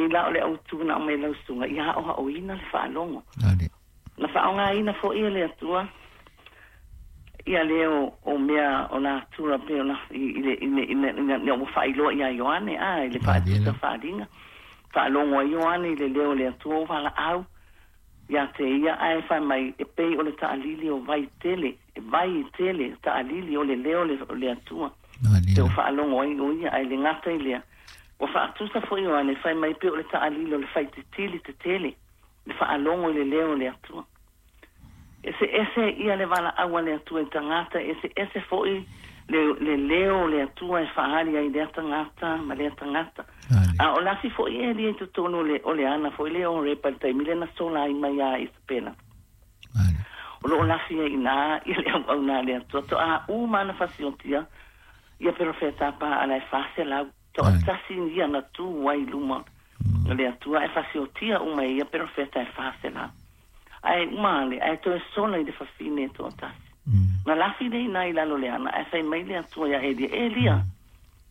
Nei la o le autu na aumai lau susuga ia aoaoina le faalogo. Na faaaogaina foi e le Atua ia leo o mea o natura pei ona i le ina ua faailoa ia Ioane a i le faatusa faaaliga. Faalogo ai Ioane i le leo o le Atua o valaau ia te ia ae fai mai e pei o le taalili o vai tele, e vai tele taalili o le leo o le Atua. Te o faalogo ai o ia ae le gata i lea. Ua faatusa foi Ioane fai mai pei o le taalili o le faititili tetele, le faalogo i le leo o le Atua. Eseese ia le valaau a le Atua i tagata, eseese foi le leo o le Atua e faaali ai lea tagata ma lea tagata. A o lafi foi Elia i totonu o le ana foi lea o Horepa i le taimi lea na sola ai mai ia Isapela. O loo lafi ai iná ia le auauna a le Atua. Toa uma ana fasiotia ia perofeta Paala e 400. Toatasi ia na tu ai i luma o le Atua e fasiotia uma e ia perofeta e 400. Ae uma ane, ae toe sola i le fafine e toatasi. Na lafi lea iná i lalo o le ana, ae fai mai le Atua iā Elia, Elia,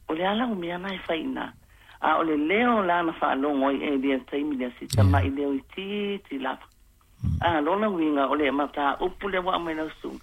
o le a lau mea na e fai iná? A o le leo la na faalogo ai Elia i le taimi lea, si tama'i leo itiiti lava. A lona uiga, o le mataupu lea ua aumai lau susuga,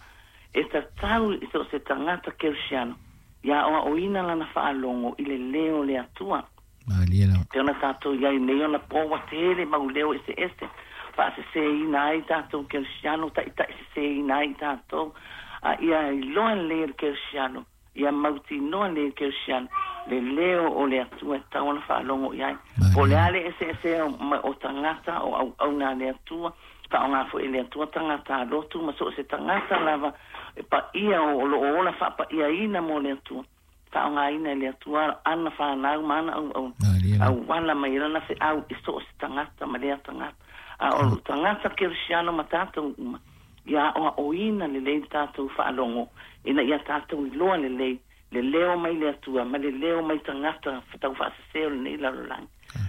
e tatau i so o se tagata kerisiano ia aoaoina lana faalogo i le leo o le Atua. Pei ona tatou i ai nei ona po ua tele mau leo eseese, faasesēina ai tatou kerisiano, taitaisesēina ai tatou, a ia iloa lelei e le kerisiano, ia mautinoa lelei e le kerisiano le leo o le Atua e tatau ona faalogo i ai. Po o le a le eseesea o tagata o auauna a le Atua, faaaoga foi e le Atua tagata alotu ma so o se tagata lava e paia o lo o ola faapaiaina mo le Atua, faaaogaina e le Atua ana fanau ma ana auauna, auala mai ai lana feau i so o se tagata ma lea tagata. A o tagata kerisiano ma tatou uma, ia aoaoina lelei le tatou faalogo ina ia tatou iloa lelei le leo mai le Atua ma le leo mai tagata taufaasese o lenei lalolagi.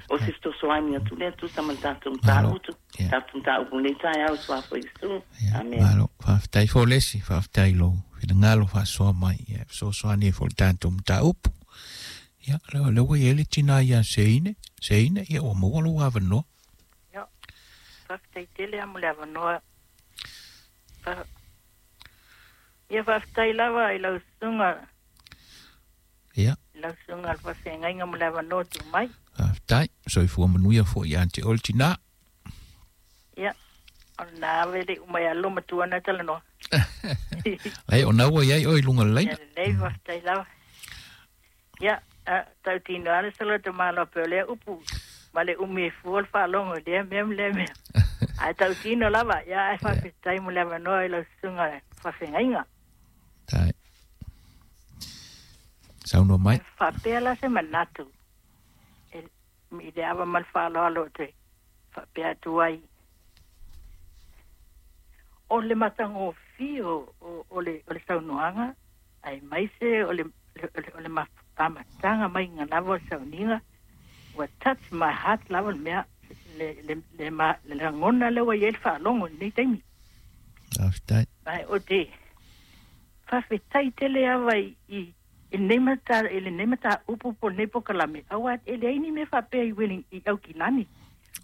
O se fesoasoani atu lea tusa ma le tatou mataupu, tatou mataupu i lenei taeao i Suafa o Iesu. Amene. Malo, faafetai foi Lesi, faafetai i lou finagalo faasoa mai, ia fesoasoani ai foi i le tatou mataupu. Ia, lea ua i ai le tina ia Seine, Seine, ia ua maua lou avanoa. Ia, faafetai tele lava mo le avanoa. Ia faafetai lava i lau susuga. Ia. I lau susuga le faafeagaiga mo le avanoa tuu mai. Faafetai. Soifua manuia foi ia te oe le tina. Ia, o lena ave le uma ia loma matua na talanoa. Ai, o na ua i ai oe i luga o le laina. Ia lelei, faafetai lava. Ia, tautino lava le sala o te malo pei o lea upu ma le umi e fua le faalogo i lea mea ma lea mea. Ae tautino lava, ia ae faafetai mo le avanoa i lau susuga faafeagaiga. Tai. Saunoa mai. E faapea la se manatu e, i le ava ma le faaaloalo ou te faapea atu ai, o le matagofie o, o, o, le, o le saunoaga aemaise o le, o le, o le amataga maiga lava o le sauniga, ua touch my heart lava le mea, le, le, le, ma, le lagona lea ua i ai le faalogo i lenei taimi. Faafetai. Ae ou te faafetai tele lava i, i, i lenei mata, i lenei mataupu po o lenei polokalame, aua e leai ni mea faapea i Welling, i Aukilani.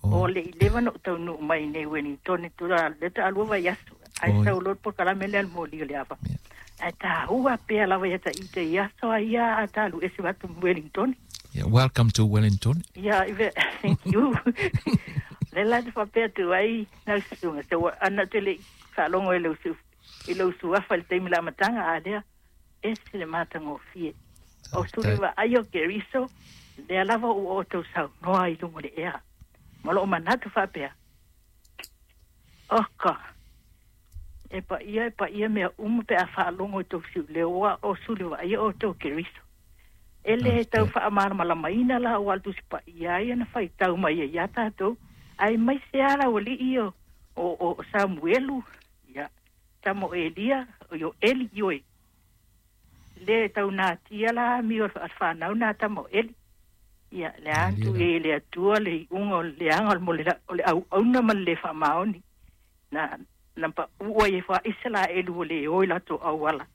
Oh. O le i leva ona ou taunuu mai i nei Wellington i tulaga lea taalua vaiaso, ae Oi. sau loa le polokalame lea a le moli o le ava. Yeah. Ae taua pea lava ia ta ita i aso a ia a talu ese atu ma Wellington. Yeah, welcome to Wellington. Yeah, thank you. Le la te faapea atu ai lau susuga, so ua ana ou te le i faalogo i lau su, i lou suafa i le taimi o le amataga, a lea, ese le matagofie. O Faafetai. suli vaai o Keriso, lea lava ua outou saunoa i luga o le ea. Ma lou manatu faapea, oka, e paia e paia mea uma pe a faalogo i tou siuleo, aua o suli vaaia outou Keriso. E le tau Faafetai. faamalamalamaina la aua o le Tusi Paia ai ana faitau mai ai iā tatou, aemaise lava le aualii o, o, o Samuelu, ia, tama o Elia, o Eli, ioe. Le tau natia la amio a le fanau na tama o Eli. Ia, le a Malie atu la. i ai e le Atua le iuga o le leaga mo le, o le auauna ma le le faamaoni. Na, na paʻu ai e Faisalaelu ua le o i latou auala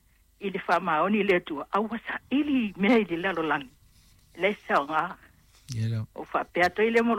i le faamaoni i le Atua, a ua saili mea i le lalolagi. E leai se aoga. Ia la. O faapea atu ai lea mo